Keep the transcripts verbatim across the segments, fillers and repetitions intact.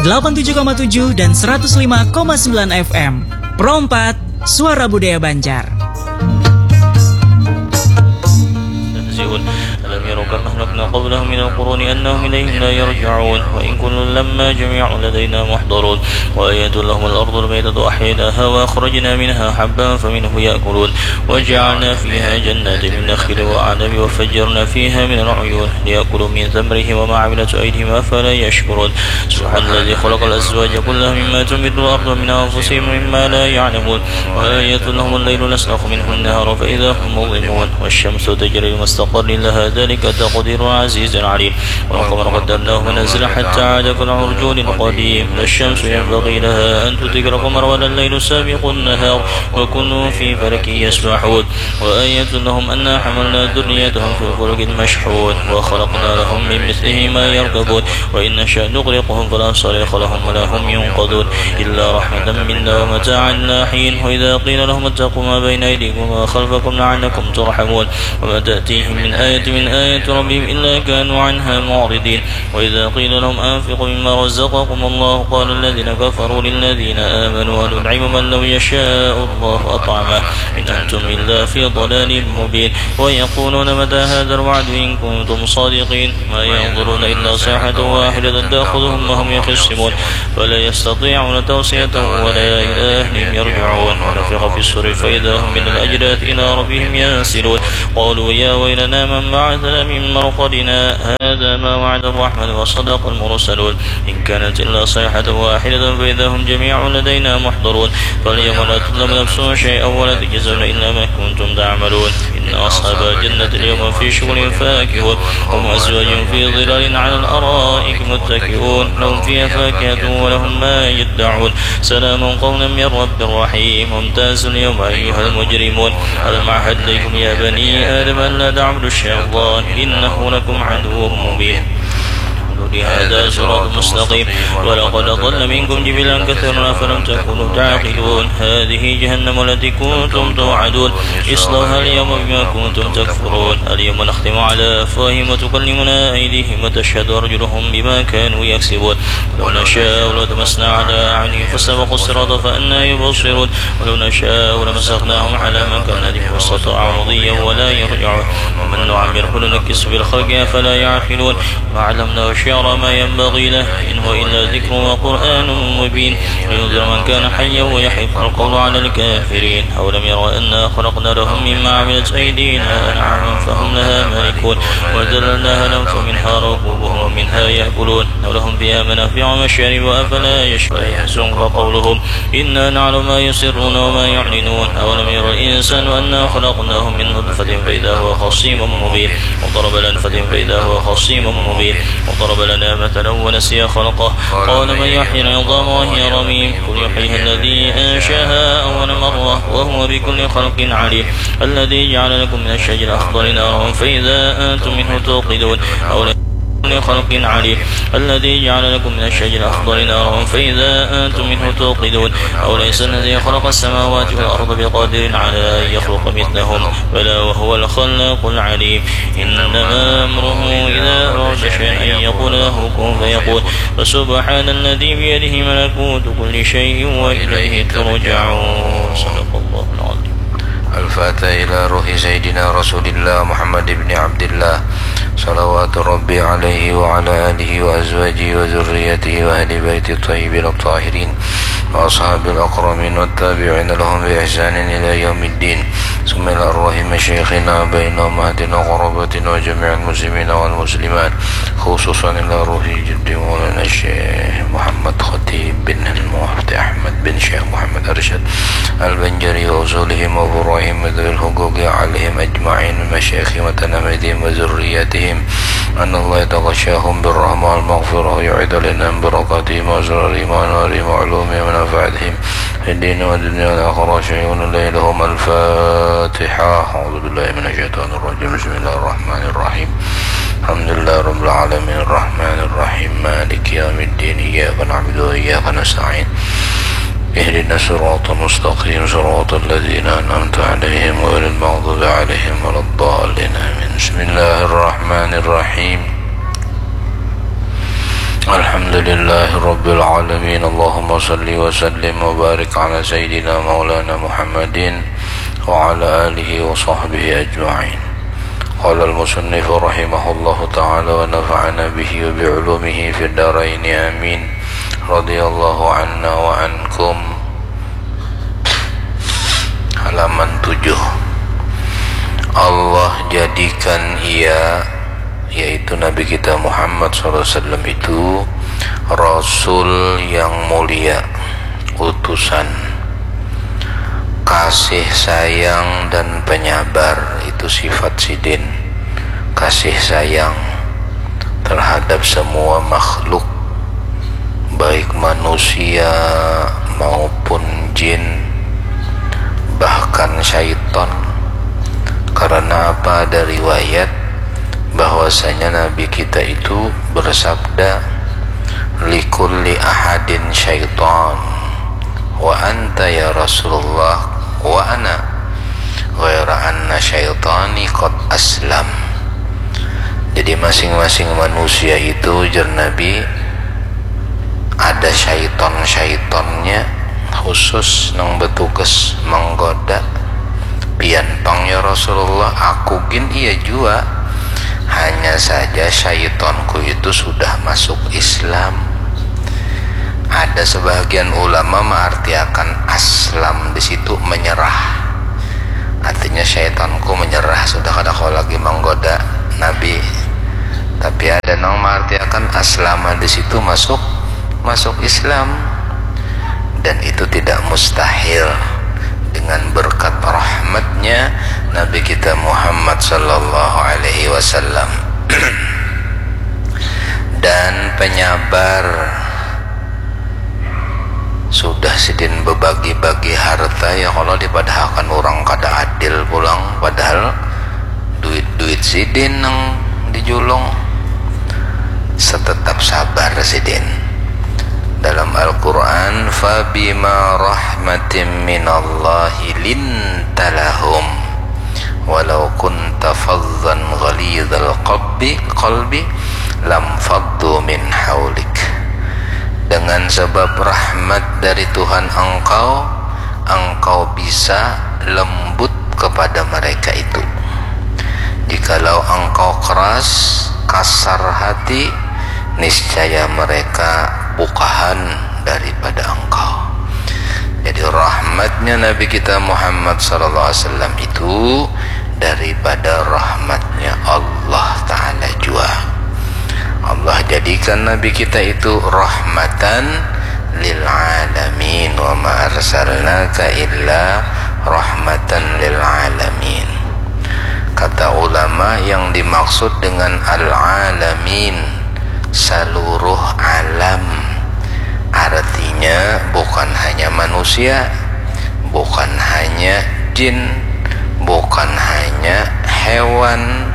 delapan tujuh koma tujuh dan seratus lima koma sembilan F M. Pro empat, Suara Budaya Banjar. ألم يروا كم أهلكنا قبلهم من القرون أنهم إليهم لا يرجعون وإن كل لما جميع لدينا محضرون وآية لهم الأرض الميتة أحييناها وأخرجنا منها حبا فمنه يأكلون وجعلنا فيها جنات من نخيل وأعناب وفجرنا فيها من العيون ليأكلوا من ثمره وما عملته أيديهم أفلا يشكرون سبحان الذي خلق الأزواج كلها مما تنبت الأرض ومن أنفسهم ومما لا يعلمون وآية لهم الليل نسلخ منه النهار فإذا هم مظلمون والشمس تجري لمستقر لها ذلك تقدير العزيز العليم والقمر قدرناه منازل حتى عاد كالعرجون القديم لا الشمس ينبغي لها أن تدرك القمر ولا الليل سابق النهار وكل في فلك يسبحون وآية لهم أنا حملنا ذريتهم في الفلك المشحون وخلقنا لهم من مثله ما يركبون وإن نشأ نغرقهم فلا صريخ لهم ولا هم ينقذون إلا رحمة منا ومتاعا إلى حين وإذا قيل لهم اتقوا ما بين أيديكم وما خلفكم لعلكم ترحمون وما تأتيهم من آية من آيات ربهم إلا كانوا عنها معرضين وإذا قيل لهم أنفقوا مما رزقكم الله قال الذين كفروا للذين آمنوا أنطعم من لو يشاء الله أطعمه إن أنتم إلا في ضلال مبين ويقولون متى هذا الوعد إن كنتم صادقين ما ينظرون إلا صيحة واحدة تأخذهم وهم يخصمون فلا يستطيعون توصية ولا إلى أهلهم يرجعون ونفخ في الصور فإذا هم من الأجداث إلى ربهم ينسلون قالوا يا ويلنا من بعثنا من مرقدنا هذا ما وعد الرحمن وصدق المرسلون إن كانت إلا صيحة واحدة فإذا هم جميع لدينا محضرون فاليوم لا تظلم نفس شيئا ولا تجزون إلا ما كنتم تعملون إن أصحاب الجنة اليوم في شغل فاكهون هم وأزواجهم في ظلال على الأرائك متكئون لهم فيها فاكهة ولهم ما يدعون سلام قولا من رب رحيم وامتازوا اليوم أيها المجرمون ألم أعهد إليكم يا بني آدم ألا تعبدوا الشيطان إنه لكم عدو مبين قالوا هذا صراط مستقيم ولقد أضل منكم جبلا كثيرا أفلم تكونوا تعقلون هذه جهنم التي كنتم توعدون اصلوها اليوم بما كنتم تكفرون اليوم نختم على أفواههم وتكلمنا أيديهم وتشهد أرجلهم بما كانوا يكسبون لو نشاء لطمسنا على أعينهم فاستبقوا الصراط فأنى يبصرون ولو نشاء لمسخناهم على مكانتهم فاستطاعوا مضيا ولا يرجعون ومن نعمره ننكسه في الخلق أفلا يعقلون ما علمناه الشعر ما ينبغي له إن هو إلا ذكر وقرآن مبين لينذر من كان حيا ويحق القول على الكافرين أولم يروا أنا خلقنا لهم مما عملت أيدينا أنعاما فهم لها مالكون وذللناها لهم فمنها ركوبهم ومنها يأكلون ولهم فيها منافع ومشارب أفلا يشكرون يحزنك قولهم إنا نعلم ما يسرون وما يعلنون أولم ير الإنسان أنا خلقناه من نطفة فإذا هو خصيم مبين وضرب لنا فإذا هو خصيم مبين وضرب لنا مثلا ونسي خلقه قال من يحيي العظام وهي رميم قل يحييها الذي أنشأها أول مرة وهو بكل خلق عليم الذي جعل لكم من الشجر الأخضر نارا فإذا أنتم منه توقدون أولم خلق عليم الذي جعل لكم من الشجر الأخضر نارا فإذا أنتم منه توقدون أوليس الذي خلق السماوات والأرض بقادر على أن يخلق مثلهم بلى وهو الخلاق العليم إنما أمره إذا أراد شيئا أن يقول له كن فيكون فسبحان الذي بيده ملكوت كل شيء وإليه ترجعون صدق الله العظيم الفاتحة إلى روح سيدنا رسول الله محمد بن عبد الله صلوات ربي عليه وعلى آله وأزواجه وذريته وأهل بيته الطيبين الطاهرين وأصحاب الأكرمين والتابعين لهم بإحسان إلى يوم الدين ثم إلى أرواح مشايخنا وآبائنا وأمهاتنا وقراباتنا وجميع المسلمين والمسلمات خصوصا إلى روح جد مولانا الشيخ محمد خطيب بن المفتي أحمد بن شيخ محمد أرشد البنجري وأصولهم وفروعهم وذوي الحقوق عليهم أجمعين من مشايخهم وتلاميذهم وذرياتهم أن الله يتغشاهم بالرحمة والمغفرة ويعيد علينا من بركاتهم وأسرارهم وأنوارهم وعلومهم ونفعاتهم في الدين والدنيا والآخرة شيء لهم الفاتحة أعوذ بالله من الشيطان الرجيم بسم الله الرحمن الرحيم الحمد لله رب العالمين الرحمن الرحيم مالك يوم الدين إياك نعبد وإياك نستعين اهدنا الصراط المستقيم صراط الذين أنعمت عليهم غير المغضوب عليهم ولا الضالين آمين بسم الله الرحمن الرحيم Alhamdulillahirabbil alamin. Allahumma salli wa sallim wa barik ala sayyidina maulana Muhammadin wa ala alihi wa sahbihi ajma'in. Qala al-musannif rahimahullahu ta'ala wa nafa'ana bihi wa bi ulumihi fid daraini amin. Radhiyallahu anna wa ankum. Halaman tujuh. Allah jadikan ia, yaitu Nabi kita Muhammad sallallahu alaihi wasallam itu, rasul yang mulia, utusan. Kasih sayang dan penyabar itu sifat sidin. Kasih sayang terhadap semua makhluk, baik manusia maupun jin, bahkan syaitan. Karena apa? Ada riwayat bahwasanya Nabi kita itu bersabda, "Likulli ahadin syaitan, wa anta ya Rasulullah, wa ana, ghaira anna syaitani qad aslam." Jadi masing-masing manusia itu, jar Nabi, ada syaiton-syaitonnya khusus nang betugas menggoda. Pian pang ya Rasulullah, aku gin iya jua. Hanya saja syaitonku itu sudah masuk Islam. Ada sebahagian ulama mengartiakan aslam di situ menyerah. Artinya syaitonku menyerah, sudah kada kau lagi menggoda Nabi. Tapi ada nang mengartiakan aslama di situ masuk, masuk Islam. Dan itu tidak mustahil dengan berkat rahmatnya Nabi kita Muhammad sallallahu alaihi wasallam. Dan penyabar, sudah sidin bebagi-bagi harta ya, kalau dipadahakan orang kada adil pulang, padahal duit-duit sidin nang dijulung. Setetap sabar sidin. Dalam Al-Quran, "Fabima rahmatim minallahi linta lahum, walau kunta fazzan ghalizal qalbi, qalbi lam faddu min haulik." Dengan sebab rahmat dari Tuhan engkau, engkau bisa lembut kepada mereka itu. Jikalau engkau keras, kasar hati, niscaya mereka bukahan daripada engkau. Jadi rahmatnya Nabi kita Muhammad sallallahu alaihi wasallam itu daripada rahmatnya Allah Ta'ala jua. Allah jadikan Nabi kita itu rahmatan lil alamin, wa ma arsalnaka illa rahmatan lil alamin. Kata ulama, yang dimaksud dengan al alamin, seluruh alam, artinya bukan hanya manusia, bukan hanya jin, bukan hanya hewan,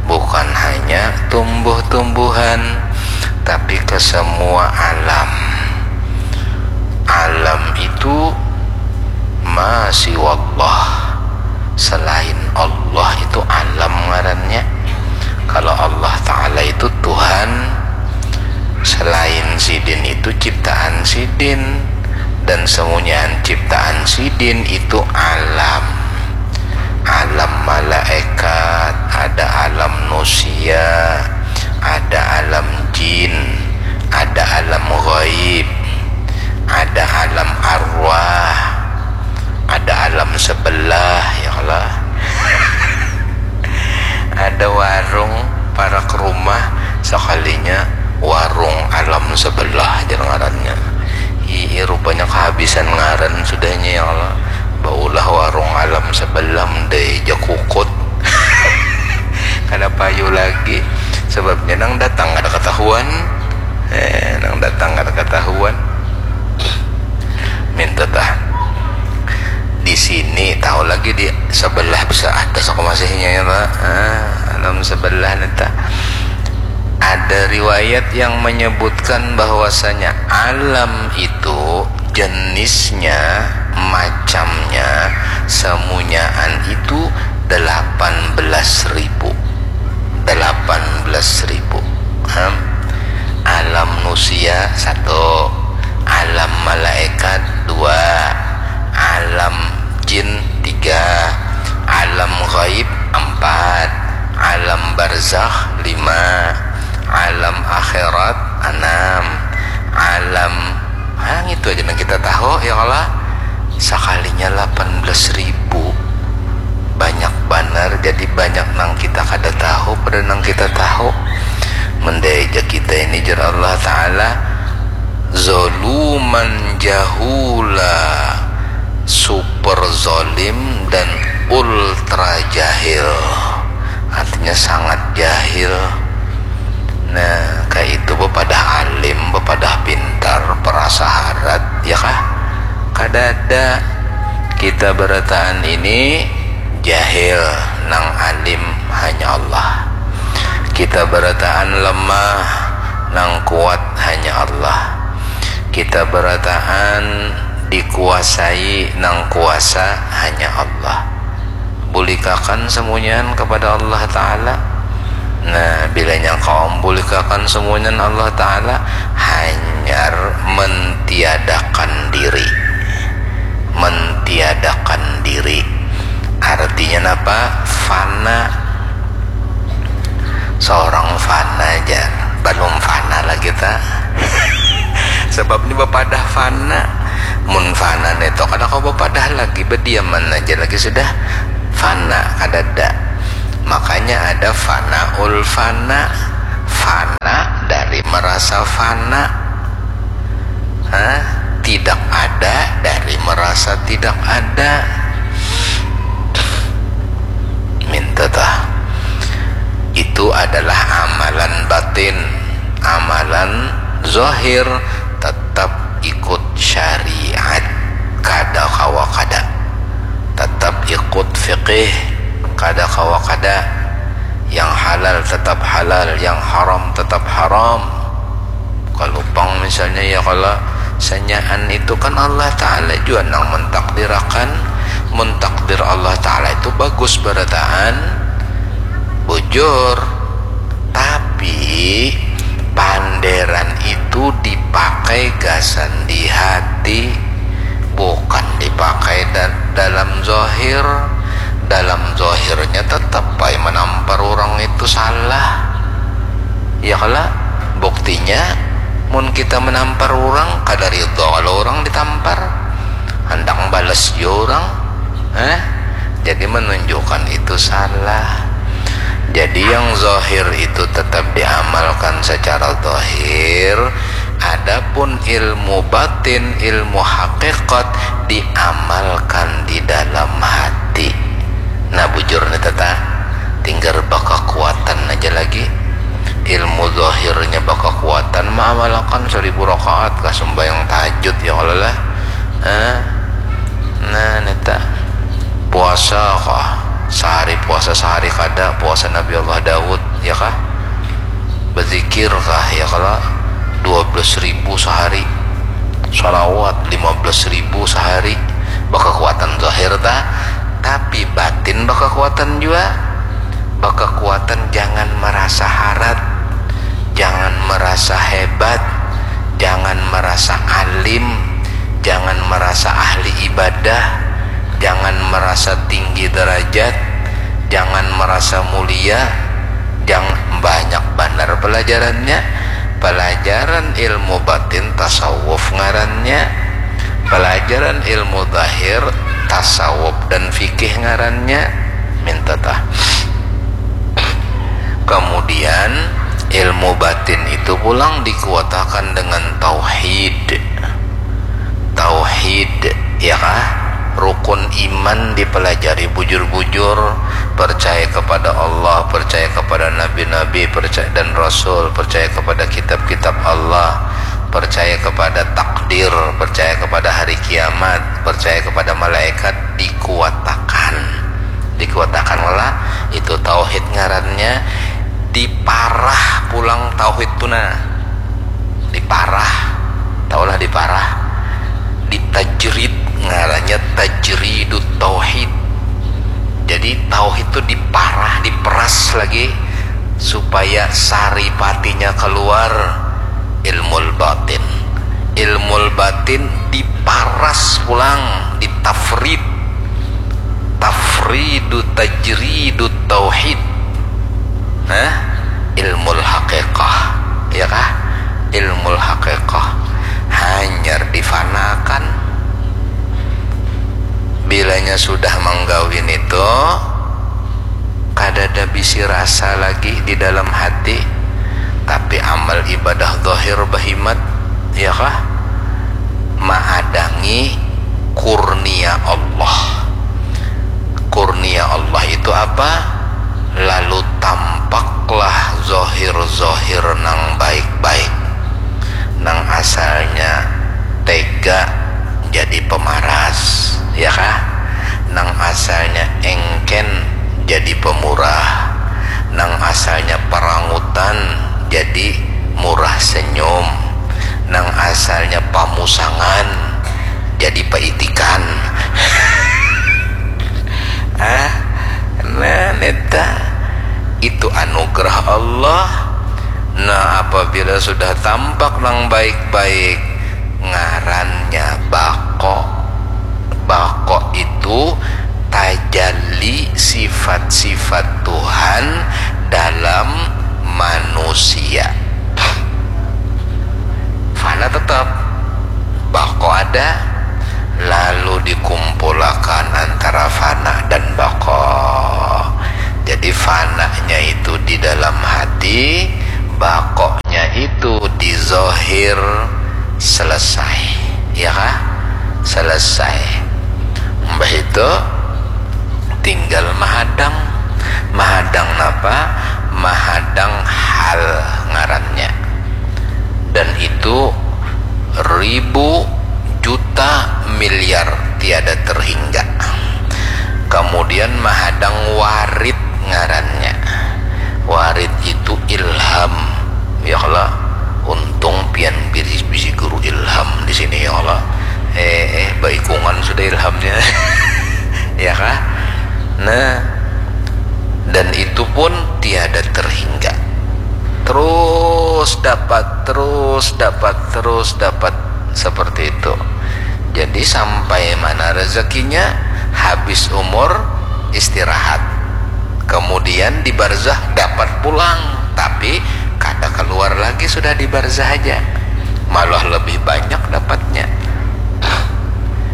bukan hanya tumbuh-tumbuhan, tapi ke semua alam. Alam itu ma siwallah, selain Allah itu alam ngarannya. Kalau Allah Ta'ala itu Tuhan, selain sidin itu ciptaan sidin, dan semunyaan ciptaan sidin itu alam. Alam malaikat, ada alam nusia, ada alam jin, ada alam gaib, ada alam arwah, ada alam sebelah, ya Allah. Ada warung parak rumah, sekalinya warung alam sebelah jar ngarannya. Ih, rupanya kehabisan ngaran sudahnya, ya Allah. Baulah warung alam sebelah deh, jakukut. Kada payu lagi. Sebabnya nang datang kada ketahuan. Eh, nang datang kada ketahuan. Minta tah. Di sini tahu lagi, di sebelah bisa ada sok masihnya ya, Pak. Ah, alam sebelah nih, tah. Ada riwayat yang menyebutkan bahwasanya alam itu jenisnya, macamnya, semunyaan itu delapan belas ribu. Delapan belas ribu. Ham. Alam nusia satu, alam malaikat dua, alam jin tiga, alam gaib empat, alam barzakh lima, alam akhirat enam, alam, hang itu aja yang kita tahu ya Allah. Sakalinya lapan belas ribu, banyak banar. Jadi banyak nang kita kada tahu pada nang kita tahu. Mendai aja kita ini, jar Allah Ta'ala, zoluman jahula, super zolim dan ultra jahil. Artinya sangat jahil. Nah, kayak itu bepadah alim, bepadah pintar, perasa harat, ya kah? Kada ada. Kita berataan ini jahil, nang alim hanya Allah. Kita berataan lemah, nang kuat hanya Allah. Kita berataan dikuasai, nang kuasa hanya Allah. Bulikakan semuanya kepada Allah Ta'ala. Nah, bilanya kaum bulikakan semuanya Allah Ta'ala, hanyar mentiadakan diri. Mentiadakan diri. Artinya apa? Fana. Seorang fana aja. Belum fana lagi ta. Sebab ini bepadah fana. Mun fana neto kada kau bepadah lagi, bediaman aja lagi sudah. Fana kadada. Makanya ada fanaul fana. Fana dari merasa fana. Hah? Tidak ada dari merasa tidak ada. Minta tah. Itu adalah amalan batin. Amalan zahir tetap ikut syariat. Kada kawa kada. Tetap ikut fikih. Kada kawa kada. Yang halal tetap halal, yang haram tetap haram. Kalau pang misalnya ya, kalau sanyaan itu kan Allah Ta'ala jua nang mentakdirakan. Mentakdir Allah Ta'ala itu bagus berataan, bujur. Tapi panderan itu dipakai gasan di hati, bukan dipakai da- dalam zahir. Dalam zahirnya tetap baik menampar orang itu salah. Ya kala, buktinya mun kita menampar orang, kada ridho kalau orang ditampar, handak balas jua orang. Eh? Jadi menunjukkan itu salah. Jadi yang zahir itu tetap diamalkan secara zahir, adapun ilmu batin, ilmu hakikat diamalkan di dalam hati. Nah, bujur nih tata, tinggal bakakuatan aja lagi. Ilmu zahirnya bakakuatan, maamalakan seribu rakaat kah, sembahyang tahajud ya Allah lah. Eh? Nah, neta puasa kah, sehari puasa sehari kada, puasa Nabi Allah Daud ya kah? Berzikir kah ya kala? Dua belas ribu sehari. Salawat lima belas ribu sehari. Bakakuatan zahir ta, tapi batin bakakuatan jua. Bakakuatan, jangan merasa harat, jangan merasa hebat, jangan merasa alim, jangan merasa ahli ibadah, jangan merasa tinggi derajat, jangan merasa mulia. Jangan, banyak banar pelajarannya. Pelajaran ilmu batin tasawuf ngarannya. Pelajaran ilmu zahir tasawuf dan fikih ngarannya. Minta tah. Kemudian ilmu batin itu pulang dikuatakan dengan tauhid. Tauhid, ya kah? Rukun iman dipelajari bujur-bujur, percaya kepada Allah, percaya kepada nabi-nabi, percaya dan rasul, percaya kepada kitab-kitab Allah, percaya kepada takdir, percaya kepada hari kiamat, percaya kepada malaikat, dikuatakan. Dikuatakan lah, itu tauhid ngarannya. Diparah pulang tauhid tu nah. Diparah, tahulah diparah. Ditajrid, ngarannya tajridut tauhid. Jadi tauhid tu diparah, diperas lagi supaya saripatinya keluar. ilmu batin. Ilmu batin diparas pulang, ditafrid. Tafridu tajridu tauhid. Nah, ilmu haqiqah, ya kah? Ilmu haqiqah hanyar difanakan. Bilanya sudah manggawin itu, kadada bisi rasa lagi di dalam hati, tapi amal ibadah zahir bahimat, ya kah? Maadangi kurnia Allah. Kurnia Allah itu apa? Lalu tampaklah zahir-zahir nang baik-baik. Nang asalnya tega jadi pemaras, ya kah? Nang asalnya engken jadi pemurah. Nang asalnya parangutan jadi murah senyum. Nang asalnya pamusangan jadi paitikan. Ah, nah, neta, itu anugerah Allah. Nah, apabila sudah tampak nang baik-baik, ngarannya bako. Bako itu tajalli sifat-sifat Tuhan dalam manusia. Fana tetap, bako ada, lalu dikumpulakan antara fana dan bako. Jadi fananya itu di dalam hati, bakonya itu di zahir. Selesai, ya kah? Selesai. Mbah itu tinggal mahadang. Mahadang napa? Mahadang hal ngarannya. Dan itu ribu, juta, miliar, tiada terhingga. Kemudian mahadang warid ngarannya. Warid itu ilham. Ya kala, untung pian bisi, bisi guru ilham di sini, ya kala. Eh, eh, baikungan sudah ilhamnya. Ya kah? Nah, dan itu pun tiada terhingga. Terus dapat, terus dapat, terus dapat, seperti itu. Jadi sampai mana rezekinya, habis umur, istirahat. Kemudian di barzah dapat pulang, tapi kada keluar lagi sudah di barzah aja. Malah lebih banyak dapatnya.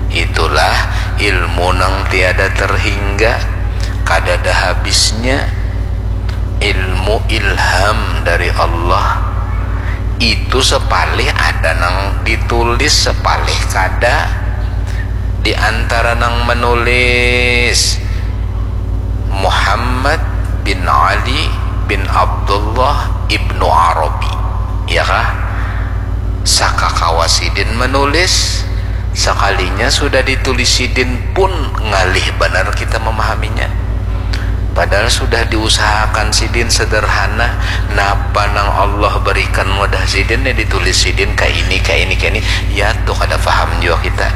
Itulah ilmu nang tiada terhingga, kadada habisnya. Ilmu ilham dari Allah itu sepalih ada nang ditulis, sepalih kada. Di antara nang menulis, Muhammad bin Ali bin Abdullah ibnu Arabi, ya kah? Sakakawa sidin menulis, sekalinya sudah ditulis sidin pun ngalih banar kita memahaminya. Padahal sudah diusahakan sidin sederhana, napa nang Allah berikan mudah sidin, ya ditulis sidin ka ini, ka ini, ka ini, ya tuh kada paham jua kita.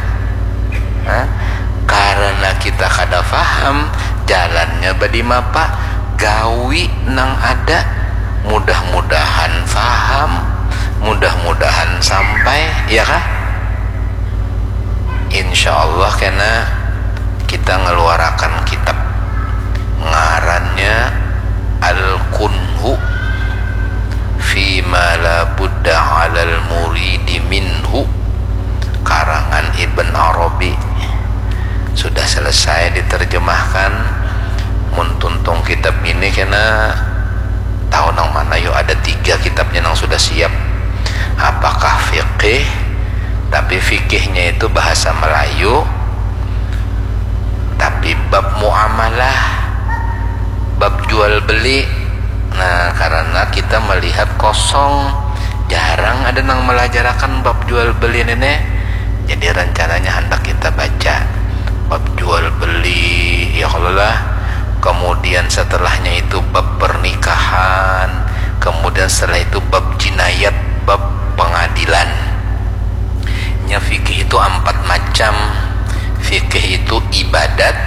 Hah? Karena kita kada paham, jalannya badimapa, gawi nang ada. Mudah-mudahan paham, mudah-mudahan sampai, ya kah? Insya Allah kena kita ngeluarakan kitab ngarannya Al-Kunhu fima la budda alal muridi minhu, karangan Ibn Arabi. Sudah selesai diterjemahkan. Mun tuntung kitab ini kena tahu nang mana, yuk, ada tiga kitabnya nang sudah siap. Apakah fikih? Tapi fikihnya itu bahasa Melayu. Tapi bab muamalah, bab jual beli. Nah, karena kita melihat kosong, jarang ada nang melajarakan bab jual beli ini. Jadi rencananya hendak kita baca bab jual beli, ya kalau lah. Kemudian setelahnya itu bab pernikahan, kemudian setelah itu bab jinayat, bab pengadilan. Nya fikih itu empat macam. Fikih itu ibadat,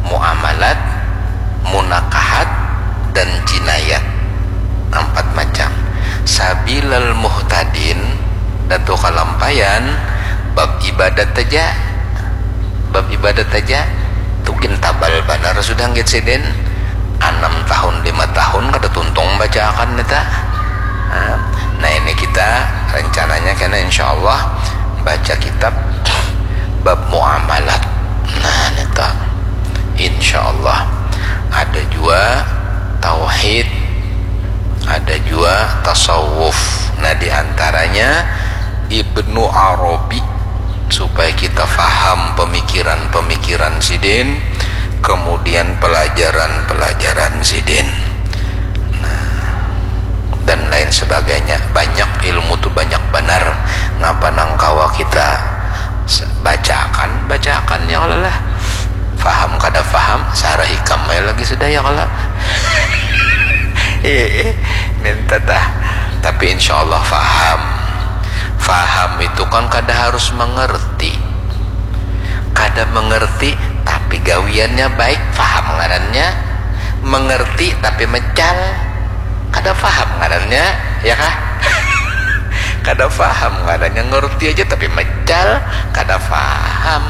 muamalat, munakahat, dan jinayat. Empat macam. Sabilal muhtadin, Datu Kalampayan, bab ibadat aja. Bab ibadat aja. Tukin tabal banar sudah nggit sidin. Anam tahun, lima tahun kada tuntung bacaakan nita. Nah, nah, ini kita rencananya kena insya Allah baca kitab bab muamalat. Nah, nita insya Allah ada jua tauhid, ada jua tasawuf. Nah, di antaranya Ibnu Arabi, supaya kita faham pemikiran-pemikiran sidin, kemudian pelajaran-pelajaran sidin. Nah, dan lain sebagainya. Banyak ilmu tu, banyak banar. Ngapa nang kawa kita se-, bacakan, bacakan ya kalo lah. Faham kada faham, sarah ikam aja lagi sudah ya kalo. Eh, eh, minta tah. Tapi insya Allah faham. Faham itu kan kada harus mengerti. Kada mengerti, tapi gawiannya baik, faham ngarannya. Mengerti, tapi mecal, kada faham ngarannya, ya kah? Kada faham ngarannya, ngerti aja tapi mecal, kada faham.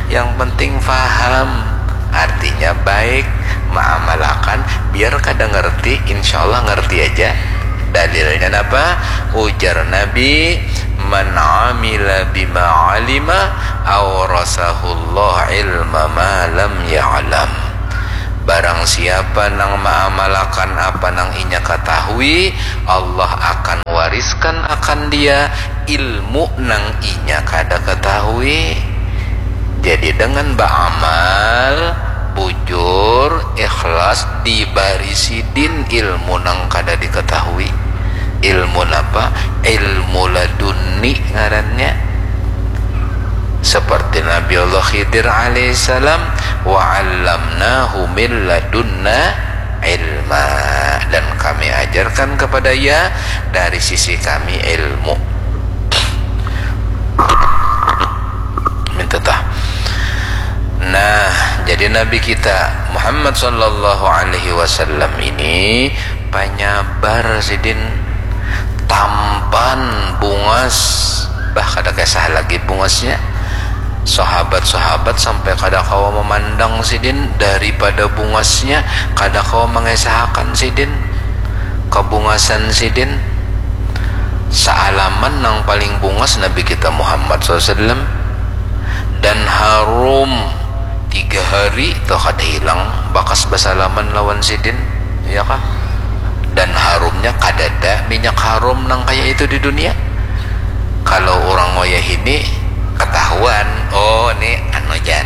Yang penting faham, artinya baik, maamalakan, biar kada ngerti, insya Allah ngerti aja. Dalilnya napa? Ujar Nabi, "Man amila bima alima, aurasahullah ilma ma lam ya'lam." Barang siapa nang maamalakan apa nang inya katahui, Allah akan wariskan akan dia ilmu nang inya kada katahui. Jadi dengan baamal, bujur, ikhlas, dibari sidin ilmu nang kada dikatahui. Ilmu napa? Ilmu laduni ngarannya. Seperti Nabi Allah Khidir alaihissalam, "Wa 'allamnahu min ladunna ilma," dan Kami ajarkan kepada ia dari sisi Kami ilmu. Minta tah. Nah, jadi Nabi kita Muhammad sallallahu alaihi wasallam ini panyabar sidin, tampan, bungas, bah kada kisah lagi bungasnya. Sahabat-sahabat sampai kada kawa memandang sidin daripada bungasnya, kada kawa mengesahakan sidin, kebungasan sidin. Saalaman nang paling bungas Nabi kita Muhammad sallallahu alaihi wasallam, dan harum tiga hari tu kada hilang bakas basalaman lawan sidin, ya kah? Dan harumnya kadada minyak harum nang kaya itu di dunia. Kalau urang wayahini katahuan, oh, ni anu jan.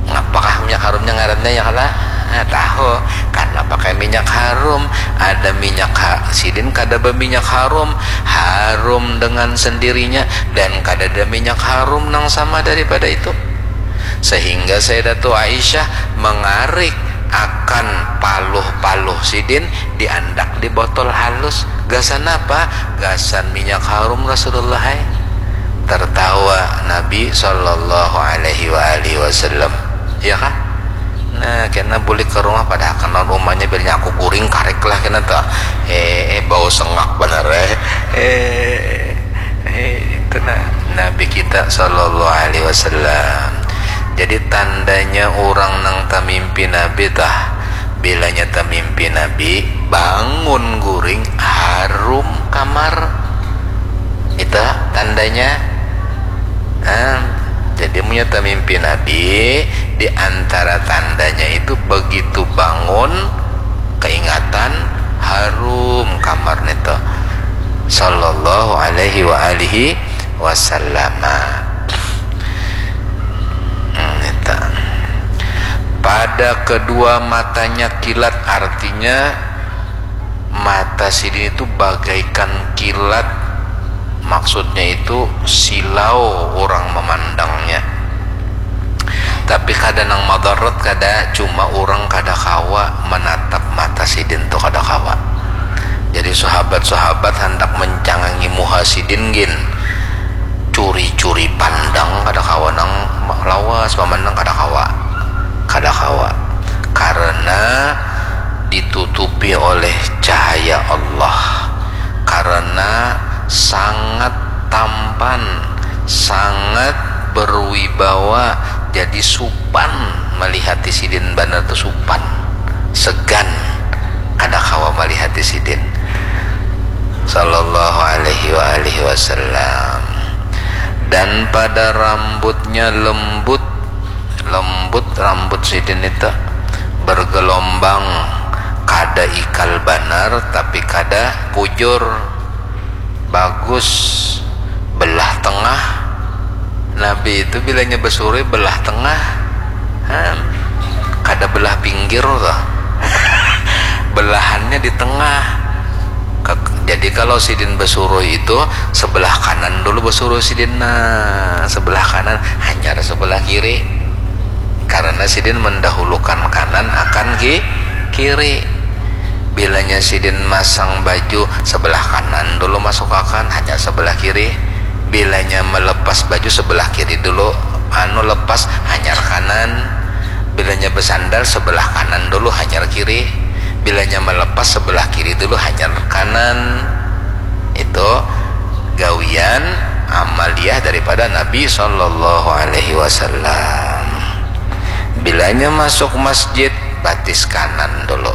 Ngapakah minyak harumnya ngarannya ya kala? Nah, tahu, karena pakai minyak harum. Ada minyak ha-, sidin kada berminyak harum, harum dengan sendirinya, dan kada ada minyak harum nang sama daripada itu. Sehingga Sayyidatu Aisyah mengarik akan paluh-paluh sidin diandak di botol halus. Gasan apa? Gasan minyak harum Rasulullah, hai. Tertawa Nabi sallallahu alaihi wa alihi wasallam. Ya kah? Nah, kena bulik ke rumah, padahal kan lawan umanya bilanya aku guring karik lah kena tuh. Eh, eh, bau sengak bener, eh. Eh, eh, itu nah, Nabi kita sallallahu alaihi wasallam. Jadi tandanya orang nang tamimpi Nabi tah, bilanya tamimpi Nabi, bangun guring, harum kamar. Itu tandanya. Nah, jadi munnya tamimpi Nabi, di antara tandanya itu begitu bangun, keingatan, harum kamar nito. Sallallahu alaihi wa alihi wasallama. Hmm, nito. Pada kedua matanya kilat, artinya mata sidin itu bagaikan kilat, maksudnya itu silau orang memandangnya. Tapi kada nang madarat, kada, cuma orang kada kawa menatap mata sidin tu, kada kawa. Jadi sahabat-sahabat handak mencangangi muha sidin gin, curi-curi pandang kada kawa, nang lawas memandang kada kawa, kada kawa, karena ditutupi oleh cahaya Allah. karena sangat tampan, sangat berwibawa, jadi supan malihati sidin banar tu supan, segan, kada kawa malihati sidin. Sallallahu alaihi wa alihi wasallam. Dan pada rambutnya lembut, lembut rambut sidin itu, bergelombang, kada ikal banar tapi kada bujur, bagus, belah tengah. Nabi itu bilanya besurui belah tengah, ha, kada belah pinggir tuh. Belahannya di tengah. Jadi kalau sidin besurui itu sebelah kanan dulu besurui sidin, nah, sebelah kanan, hanyar sebelah kiri. Karena sidin mendahulukan kanan akan ki kiri. Bilanya sidin masang baju sebelah kanan dulu masukakan, hanyar sebelah kiri. Bilanya melepas baju sebelah kiri dulu, anu, lepas, hanyar kanan. Bilanya bersandal sebelah kanan dulu, hanyar kiri. Bilanya melepas sebelah kiri dulu, hanyar kanan. Itu gawian amaliah daripada Nabi Sallallahu Alaihi Wasallam. Bilanya masuk masjid, batis kanan dulu.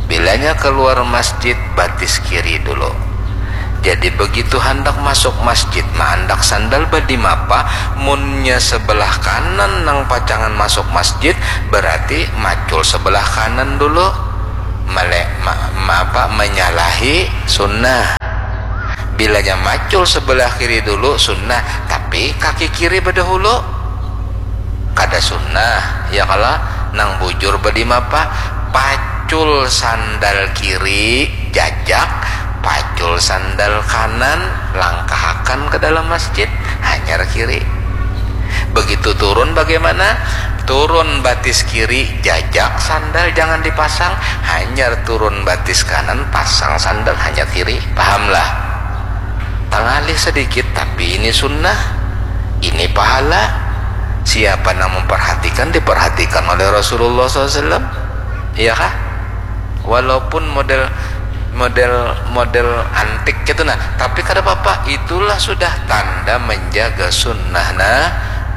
Bilanya keluar masjid, batis kiri dulu. Jadi begitu handak masuk masjid, maandak sandal badimapa, munnya sebelah kanan nang pacangan masuk masjid, berarti macul sebelah kanan dulu. Mele, ma, ma, apa, menyalahi sunnah. Bilanya macul sebelah kiri dulu sunnah, tapi kaki kiri bedahulu. Kada sunnah, ya kala? Nang bujur badimapa? Pacul sandal kiri, jajak, pacul sandal kanan, langkahakan ke dalam masjid, hanyar kiri. Begitu turun bagaimana? Turun batis kiri, jajak sandal jangan dipasang, hanyar turun batis kanan, pasang sandal hanyar kiri. Pahamlah? Tangalih sedikit, tapi ini sunnah, ini pahala. Siapa nang memperhatikan, diperhatikan oleh Rasulullah sallallahu alaihi wasallam. Iya kah? Walaupun model, model, model antik gitu, nah, tapi kada apa-apa. Itulah sudah tanda menjaga sunnah, nah,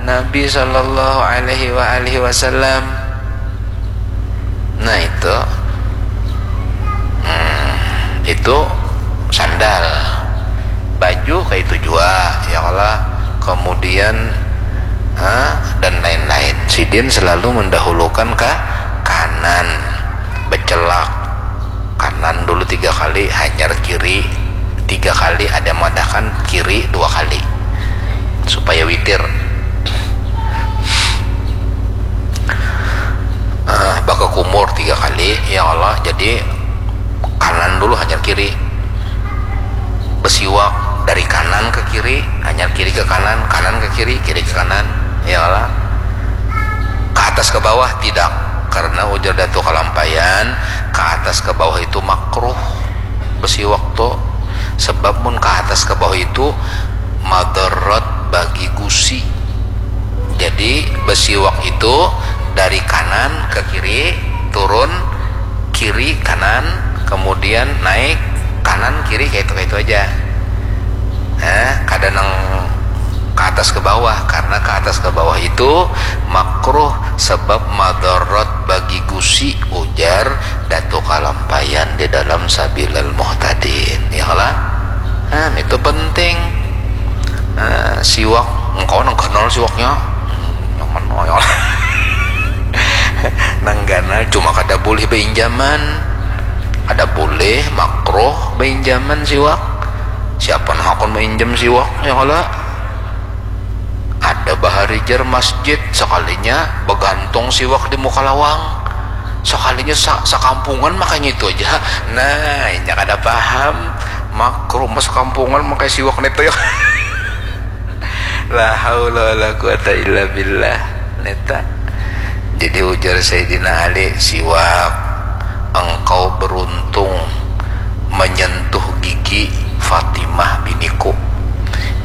Nabi Sallallahu Alaihi wa alihi Wasallam. Nah, itu, hmm, itu sandal, baju kayak itu jua, ya kala. Kemudian, ha, dan lain-lain. Sidin selalu mendahulukan ke kanan, becelak kanan dulu tiga kali, hanyar kiri tiga kali, ada madahkan kiri dua kali supaya witir. Ah, bakakumur tiga kali, ya Allah. Jadi kanan dulu, hanyar kiri. Besiwak dari kanan ke kiri, hanyar kiri ke kanan, kanan ke kiri, kiri ke kanan, ya Allah. Ke atas ke bawah tidak, karena ujar Datu Kalampayan, ke atas ke bawah itu makruh besiwak tu, sebab mun ke atas ke bawah itu madarat bagi gusi. Jadi besiwak itu dari kanan ke kiri, turun, kiri, kanan, kemudian naik, kanan, kiri, kayak itu, kayak itu aja. Nah, kada nang ke atas ke bawah, karena ke atas ke bawah itu makruh sebab madarat bagi gusi, ujar Datu Kalampayan di dalam Sabilal Muhtadin, ya lah. Nah, itu penting. Nah, siwak, engkau nang ganal siwaknya. Nang mana ya? Nang ganal cuma kada boleh beinjaman. Ada boleh, makruh beinjaman siwak. Siapa nang akan mainjam siwak, ya kala? Ada baharijar masjid, sekalinya begantung siwak di muka lawang. Sekalinya sa, sakampungan makanya itu aja. Nah, inya kada paham. Makruh mas kampungan makai siwak neto ya. La haula wala quwata illa billah. Neta. Jadi ujar Sayyidina Ali, siwak, engkau beruntung menyentuh gigi Fatimah biniku.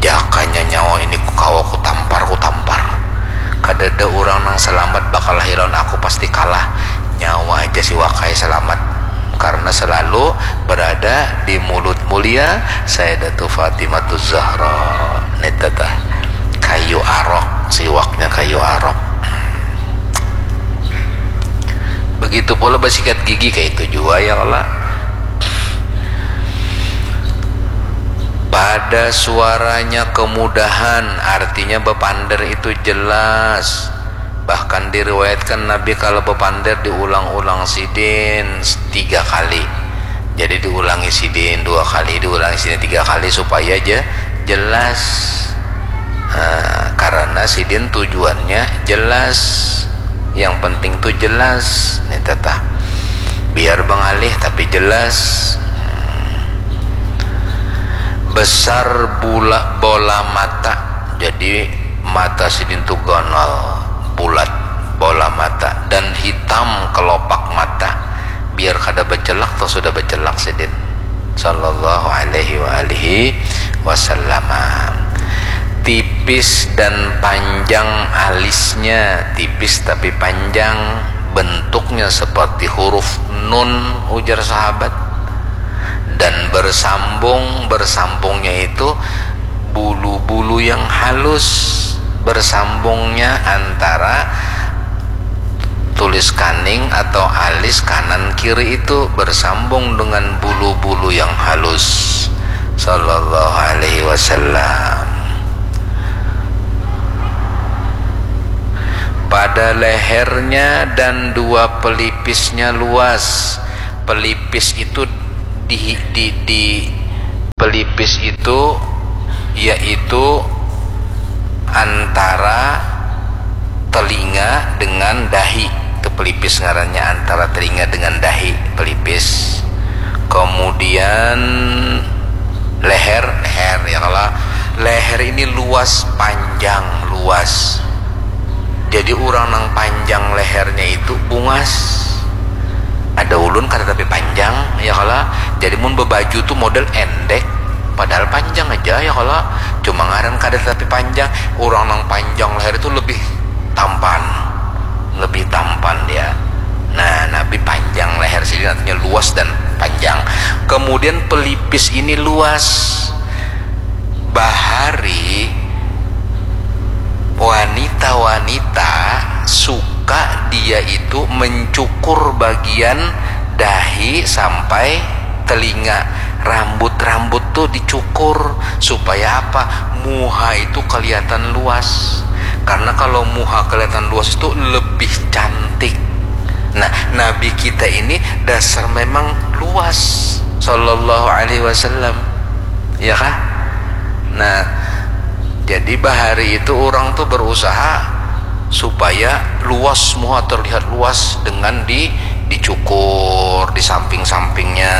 Jakanya nyawa ini ku kawa ku tampar, ku tampar. Kadada urang nang selamat bakalahi lawan aku, pasti kalah. Nyawa aja siwakai selamat. karena selalu berada di mulut mulia Sayyidatu Fatimatu Zahra. Nita tah, kayu arok, siwaknya kayu arok. Begitu pula basikat gigi, kayak itu jua ya Allah. Pada suaranya kemudahan, artinya bepander itu jelas. Bahkan diriwayatkan Nabi kalau bepander diulang-ulang sidin tiga kali. Jadi diulangi sidin dua kali, diulangi sidin tiga kali supaya je-, jelas. Nah, karena sidin tujuannya jelas. Yang penting tuh jelas. Nih tetah. Biar bengalih tapi jelas. Besar bula bola mata. Jadi mata sidin tuh ganal, bulat, bola mata, dan hitam kelopak mata. Biar kada becelak, toh sudah becelak sidin. Sallallahu alaihi wa alihi wasallam. Tipis dan panjang alisnya, tipis tapi panjang, bentuknya seperti huruf nun, ujar sahabat. Dan bersambung, bersambungnya itu bulu-bulu yang halus, bersambungnya antara tulis kaning atau alis kanan kiri itu bersambung dengan bulu-bulu yang halus. Sallallahu alaihi wasallam. Pada lehernya dan dua pelipisnya luas. Pelipis itu di, di, di pelipis itu yaitu antara telinga dengan dahi. Itu pelipis ngarannya, antara telinga dengan dahi, pelipis. Kemudian leher, leher ya kalau leher ini luas, panjang, luas. Jadi orang nang panjang lehernya itu bungas. Ada ulun kada tapi panjang ya kalau. Jadi mun bebaju tuh model endek, padahal panjang aja ya kalau. Cuma ngaran kada tapi panjang. Orang nang panjang leher itu lebih tampan, lebih tampan dia. Nah, Nabi panjang leher sidin, artinya luas dan panjang. Kemudian pelipis ini luas. Bahari wanita-wanita suka dia itu mencukur bagian dahi sampai telinga, rambut-rambut tuh dicukur. Supaya apa? Muha itu kelihatan luas. Karena kalau muha kelihatan luas itu lebih cantik. Nah, Nabi kita ini dasar memang luas, sallallahu alaihi wasallam. Ya kah? Nah, jadi bahari itu orang tuh berusaha supaya luas, muha terlihat luas dengan di, dicukur di samping-sampingnya.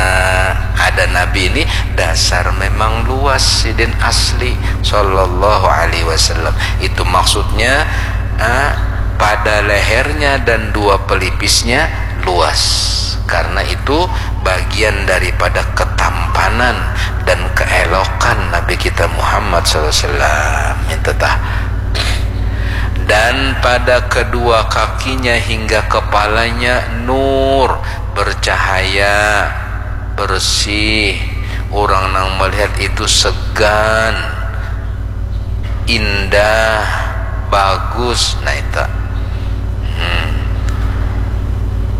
Ada Nabi ini dasar memang luas, sidin asli, sallallahu alaihi wasallam. Itu maksudnya, ah, pada lehernya dan dua pelipisnya luas. Karena itu bagian daripada ketampanan dan keelokan Nabi kita Muhammad sallallahu alaihi wasallam. Itu tah. Dan pada kedua kakinya hingga kepalanya nur, bercahaya, bersih. Orang nang melihat itu segan, indah, bagus. Nah, itu. Hmm.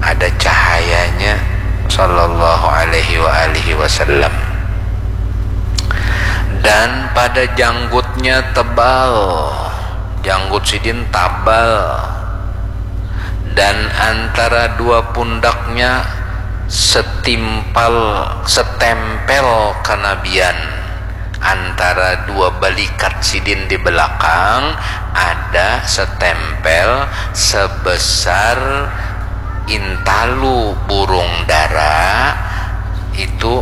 Ada cahayanya, sallallahu alaihi wa alihi wasallam. Dan pada janggutnya tebal, janggut sidin tabal, dan antara dua pundaknya setimpal, setempel kenabian. Antara dua balikat sidin di belakang ada setempel sebesar intalu burung dara, itu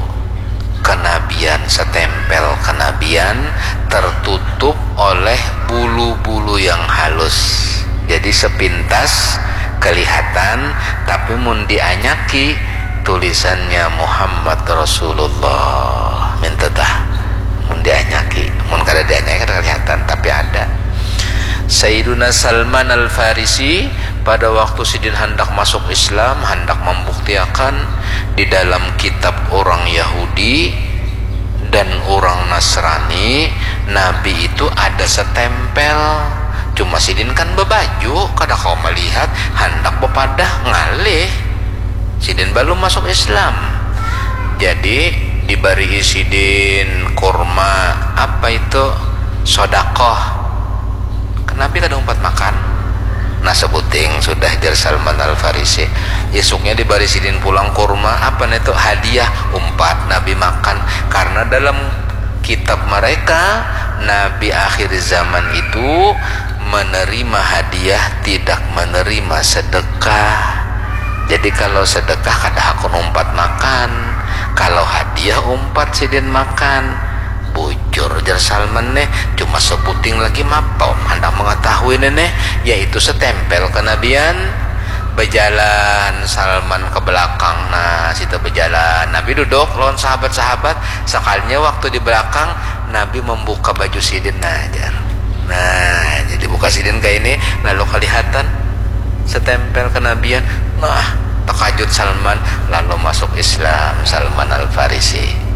kenabian, setempel kenabian tertutup oleh bulu-bulu yang halus. Jadi sepintas kelihatan, tapi mun dianyaki tulisannya Muhammad Rasulullah. Minta tah. Mun dianyaki, mun kada dianyaki kada kelihatan, tapi ada. Sayyiduna Salman Al-Farisi Pada waktu sidin handak masuk Islam, handak mambuktiakan di dalam kitab urang Yahudi dan urang Nasrani, Nabi itu ada setempel. Cuma sidin kan bebaju, kada kawa melihat, handak bepadah ngalih. Sidin balum masuk Islam. Jadi dibarii sidin kurma, apa itu, sodakoh. Nabi kada umpat makan. Nah, sebuting sudah, jar Salman Al-Farisi. Isuknya dibari sidin pulang kurma, apa nih itu, hadiah, umpat Nabi makan. Karena dalam kitab mereka, Nabi akhir zaman itu menerima hadiah, tidak menerima sedekah. Jadi kalau sedekah kada hakun umpat makan, kalau hadiah umpat sidin makan. Bujur, jar Salman nih, cuma sebuting lagi mapau handak mengetahui nih, nih, yaitu setempel kenabian. Bejalan Salman ke belakang, nah, situ bejalan. Nabi duduk lawan sahabat-sahabat, sekalinya waktu di belakang, Nabi membuka baju sidin, nah, jar. Nah, jadi buka sidin kayak ini, lalu kelihatan setempel kenabian. Nah, terkajut Salman, lalu masuk Islam Salman Al-Farisi.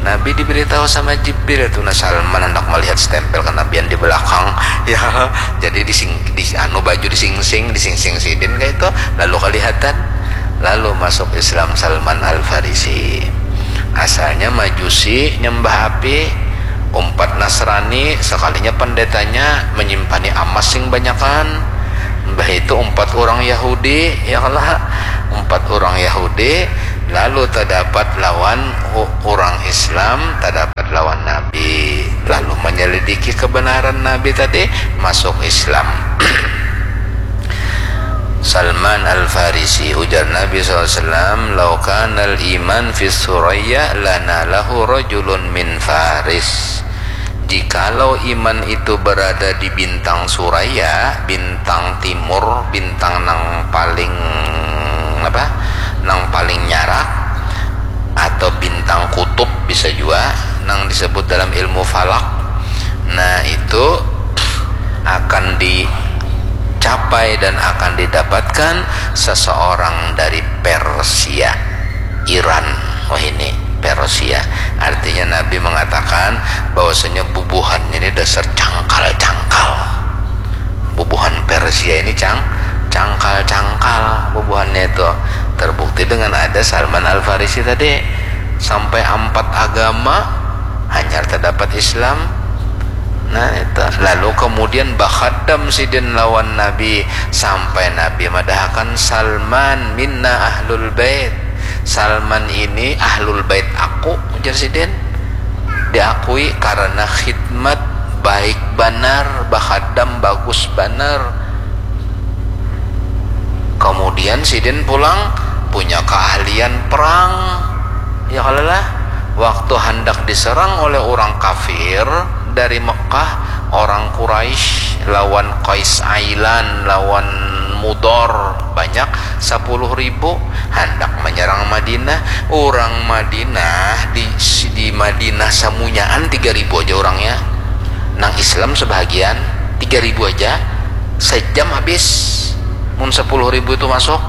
Nabi diberitahu sama Jibril tuh, nah, Salman hendak melihat stempel kenabian di belakang, ya. Jadi dising, di anu, baju disingsing, disingsing sidin kayak itu, lalu kelihatan, lalu masuk Islam Salman Al Farisi. Asalnya Majusi, nyembah api, umpat Nasrani, sekalinya pendetanya menyimpannya amas sing banyakan. Mbah itu umpat orang Yahudi, ya lah, umpat orang Yahudi, lalu terdapat lawan orang Islam, terdapat lawan Nabi, lalu menyelidiki kebenaran Nabi tadi, masuk Islam. Salman Al-Farisi, ujar Nabi sallallahu alaihi wasallam, "Lau kanal iman fi Suraya lana lahu rajulun min Faris." Jikalau iman itu berada di bintang Suraya, bintang timur, bintang nang paling apa? Nang paling nyarak, atau bintang kutub bisa juga, nang disebut dalam ilmu falak. Nah, itu akan dicapai dan akan didapatkan seseorang dari Persia, Iran. Oh, ini Persia. Artinya Nabi mengatakan bahwasanya bubuhannya ini dasar cangkal-cangkal. Bubuhan Persia ini cang, cangkal-cangkal bubuhannya itu. Terbukti dengan ada Salman Al-Farisi tadi. Sampai empat agama hanyar terdapat Islam. Nah, itu. Lalu kemudian bakhadam sidin lawan Nabi sampai Nabi madahakan, "Salman minna ahlul bait." Salman ini ahlul bait aku, ujar sidin. Diakui karena khidmat baik banar, bakhadam bagus banar. Kemudian sidin pulang punya keahlian perang. Ya kalalah, waktu handak diserang oleh orang kafir dari Mekah, orang Quraisy lawan Qais Ailan, lawan Mudor, banyak, sepuluh ribu, handak menyerang Madinah. Orang Madinah, di, di Madinah samunyaan tiga ribu aja orangnya. Nang Islam sebahagian, tiga ribu aja. Sejam habis. Mun sepuluh ribu itu masuk,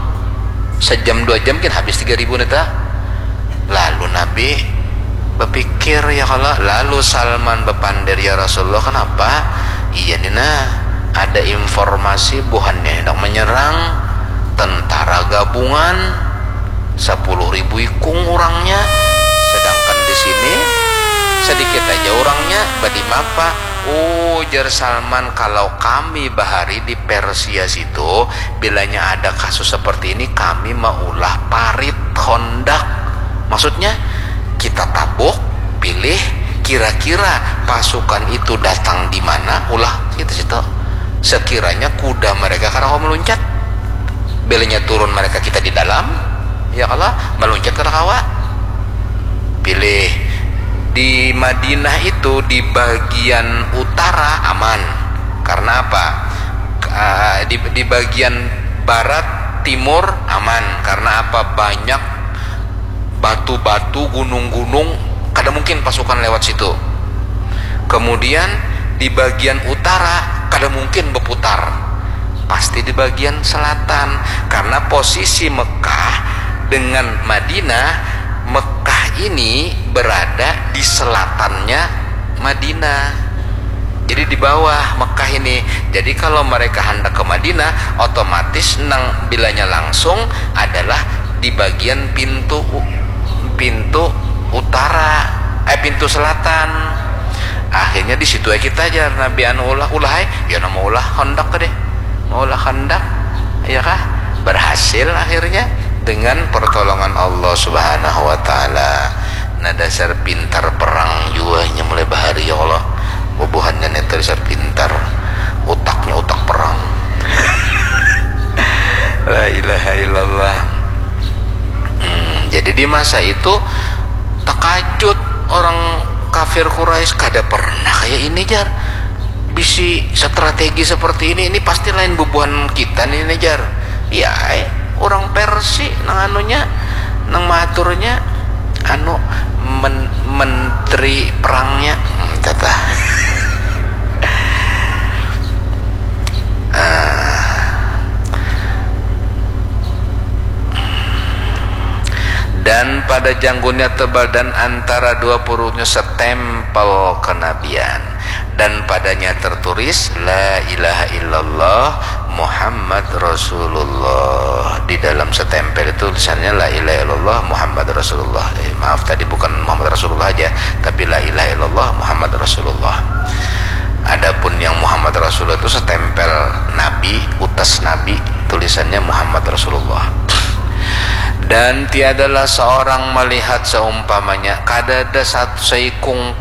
sejam dua jam kan habis tiga ribu neta. Lalu Nabi berpikir, ya kala. Lalu Salman bepander, "Ya Rasulullah, kenapa?" "Iya ni nah, ada informasi buhannya hendak menyerang tentara gabungan, sepuluh ribu ikung orangnya, sedangkan di sini sedikit aja orangnya, badimapa?" Ujar Salman, "Kalau kami bahari di Persia situ, bilanya ada kasus seperti ini, kami maulah parit, hondak." Maksudnya, kita tabuk, pilih, kira-kira pasukan itu datang di mana, ulah kita situ. Sekiranya kuda mereka kada kawa meluncat, bilanya turun mereka kita di dalam, ya kala, meluncat kada kawa. Pilih. Di Madinah itu, di bagian utara aman. Karena apa? Ah, di, di bagian barat, timur aman. Karena apa? Banyak batu-batu, gunung-gunung, kada mungkin pasukan lewat situ. Kemudian di bagian utara kada mungkin berputar. Pasti di bagian selatan, karena posisi Mekah dengan Madinah, Mekah ini berada di selatannya Madinah. Jadi di bawah Mekah ini. Jadi kalau mereka hendak ke Madinah, otomatis nang bilanya langsung adalah di bagian pintu u- pintu utara, eh, pintu selatan. Akhirnya di situ aja kita aja Nabi anu ulah ulah ai, ya nama ulah hendak deh, mau ulah hendak, ya kah? Berhasil akhirnya dengan pertolongan Allah Subhanahu wa Ta'ala. Nah, dasar pintar perang jua nya mulai bahari, ya Allah. Bubuhannya nih dasar pintar, utaknya utak perang. La ilaha illallah. Hmm, jadi di masa itu takajut orang kafir Quraisy, kada pernah kayak ini, jar. Bisi strategi seperti ini, ini pasti lain bubuhan kita nih, jar. Iya, eh, orang Persia nang anunya, nang maaturnya, anu, men- menteri perangnya. Hmm, tata. Ah. Dan pada janggunnya tebal dan antara dua puruknya setempel kenabian. Dan padanya tertulis, "La ilaha illallah Muhammad Rasulullah." Di dalam setempel itu tulisannya, "La ilaha illallah Muhammad Rasulullah." Eh, maaf, tadi bukan Muhammad Rasulullah aja, tapi, "La ilaha illallah Muhammad Rasulullah." Adapun yang Muhammad Rasulullah itu setempel Nabi, utas Nabi, tulisannya Muhammad Rasulullah. Dan tiadalah seorang melihat seumpamanya, kada ada satu seikung